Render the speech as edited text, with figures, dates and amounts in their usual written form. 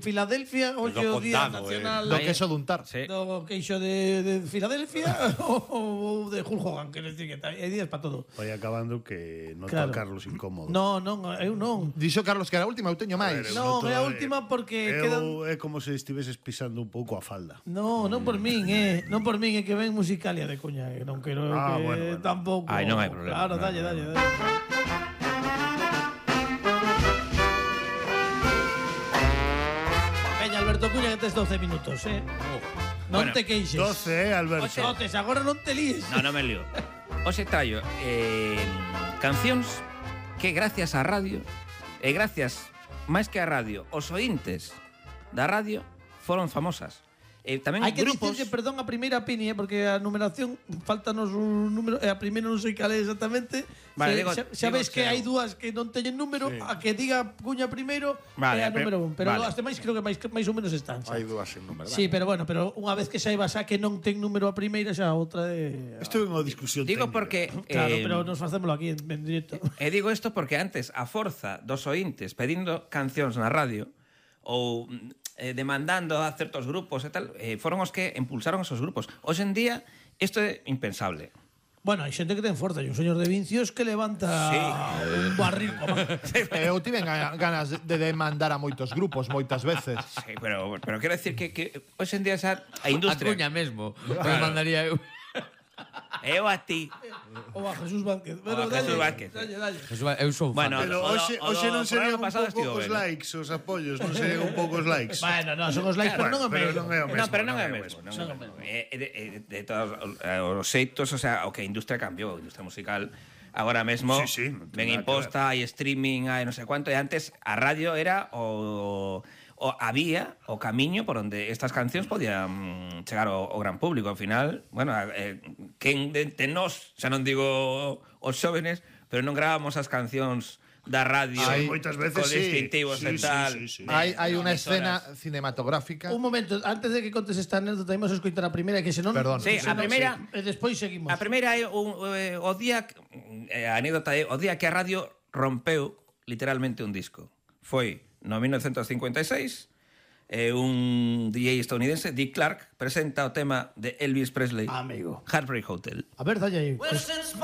Filadelfia, hoxe o Día Nacional do queso duntar. do queixo de Filadelfia ou de Hulk Hogan, que decir que hai días para todo. Vai acabando que noto Claro. a Carlos incómodo. Non, eu non. Dixo Carlos que era a última, eu teño máis. Non, é a última porque quedan... É como se estiveses pisando un pouco a falda. Non por min, non por min, é que ven Musicalia de Cuña, que non quero que bueno. tampouco. Ai, non hai problema. Claro, dalle. Veña, Alberto Cuña, que tes 12 minutos, Non Bueno, te queixes. 12, Alberto. Xotes, agora non te líes. Non me lío. Hoxe traio cancións que gracias á radio e gracias, máis que á radio, os ointes da radio foron famosas. Tamén Hai que grupos... dicir que, perdón, a primeira Pini, porque a numeración faltanos un número, e a primeira non sei cal é exactamente. Vale, Xa ves que hai dúas que non teñen número, a que diga Cuña primeiro é a número 1, pero as demais creo que máis ou menos están. Hai dúas en número. Sí, pero bueno, unha vez que saibas a que non ten número a primeira, xa a outra é... Isto é unha discusión Digo técnica. porque... Claro, pero nos facémolo aquí en directo. E digo isto porque antes, a forza dos ointes pedindo cancións na radio ou demandando a certos grupos e tal, foron os que impulsaron esos grupos. Hoxe en día, isto é impensable. Bueno, hai xente que ten forza, hai un señor de Vincios que levanta un barril. Eu tiven ganas de demandar a moitos grupos moitas veces. Sí, pero quero decir que hoxe en día xa a industria... A Cuña mesmo. Me mandaría eu. Eu a ti. Ou a Jesús Vázquez. Ou a Jesús Vázquez. Dalle. Eu sou fan. Bueno, Pero hoxe non serían un pasado pouco os likes, os apoios, non serían un pouco os likes. Bueno, non, son os likes, pero non é Pero mesmo. non é o mesmo. No, pero non é o mesmo. De todos os xeitos, o sea, o que a industria cambiou, a industria musical agora mesmo Sí, non ten ben nada que imposta, hai streaming, hai non sei cuánto, e antes a radio era había o camiño por onde estas cancións podían chegar ao gran público. Ao final, bueno, quen de nós, xa non digo os xóvenes, pero non gravamos as cancións da radio moitas veces con sí. distintivos e tal. Sí. Hai unha escena cinematográfica. Un momento, antes de que contes esta anécdota, imos escoitar a primeira, que senón... Perdón. Sí, a primeira... E despois seguimos. A primeira é o día... A anécdota é o día que a radio rompeu literalmente un disco. Foi no 1956, un DJ estadounidense, Dick Clark, presenta o tema de Elvis Presley, Amigo. Heartbreak Hotel. A ver, dalle aí.